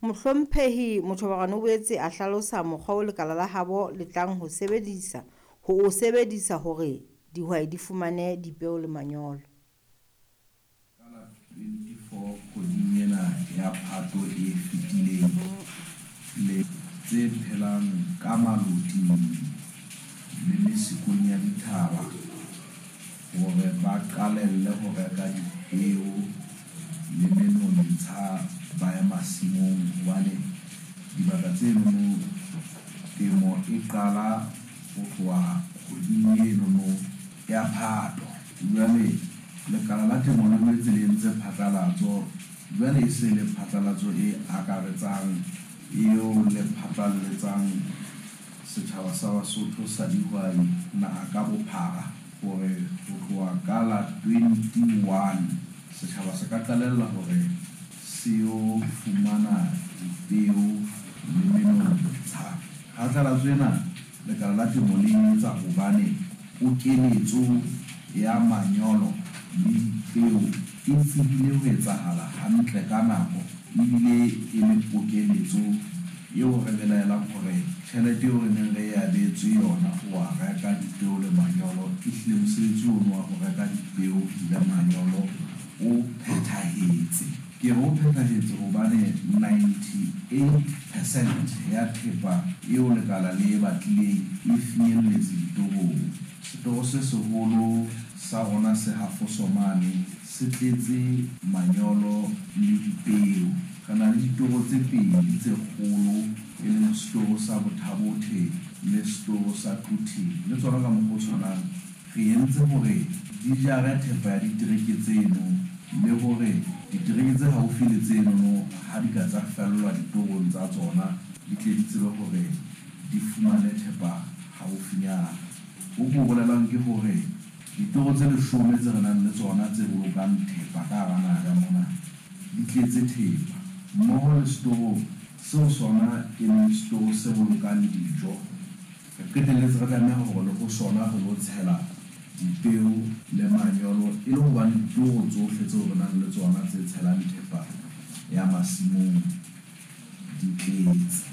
Mohlomphehi Mothobakaone o boetse a hlalosa mokgwa o lekala la habo le tlang ho o sebedisa hore dihwai di fumane dipeo le manyolo. Ka la 24 kgweding ena ya Phato e fetileng, le. Tse phelang ka maloting le mesikong ya dithaba hore ba qalelle ho reka dipeo le menontsha ba ye masimong hobane dibaka tsenono temo e qala ho tloha kgweding enono ya Phato. Jwale lekala la temo le boetse le entse phatlalatso, jwale e se le phatlalatso e akaretsang eo le phatlalletsang setjhaba sa Basotho sa dihwai naha ka bophara hore ho tloha ka la 21 setjhaba se ka qalella hore se yo fumana dipeo le menontsha. Phatlalatso ena lekala la temo le e etsa hobane pokeletso ya manyolo le dipeo e tsebile ho etsahala hantle ka nako ebile e le pokeletso eo re belaelang hore tjhelete eo re neng re e abetswe yona ho wa reka dipeo le manyolo, ehlile mosebetsi ono wa ho reka dipeo le manyolo o phethahetse. Ke re o phethahetse hobane 98% ya thepa eo lekala le e batlileng e finyelletse ditorong. Setoro se seholo sa rona se ha Fosomane se tletse manyolo le dipeo. Re na le ditoro tse pedi tse kgolo, e leng setoro sa Botha-Bothe le setoro sa Quthing. Le tsona ka mokgwa o tshwanang re entse hore di jare thepa ya ditereke tseno, le hore ditereke tse haufi le tsenono ha di ka tsa fellwa ditorong tsa tsona, di tle di tsebe hore di fumane thepa haufinyana. Ho ko bolelang ke hore ditoro tse 10 tse re nang le tsona tse bolokang thepa ka hara naha ka mona di tletse thepa, mmoho le setoro seo sona e leng setoro se bolokang dijo. Re qetelletse re tlameha hore le ho sona re lo tshela dipeo le manyolo e le hobane ditoro tsohle tseo re nang le tsona tse tshelang thepa ya masimong di tletse.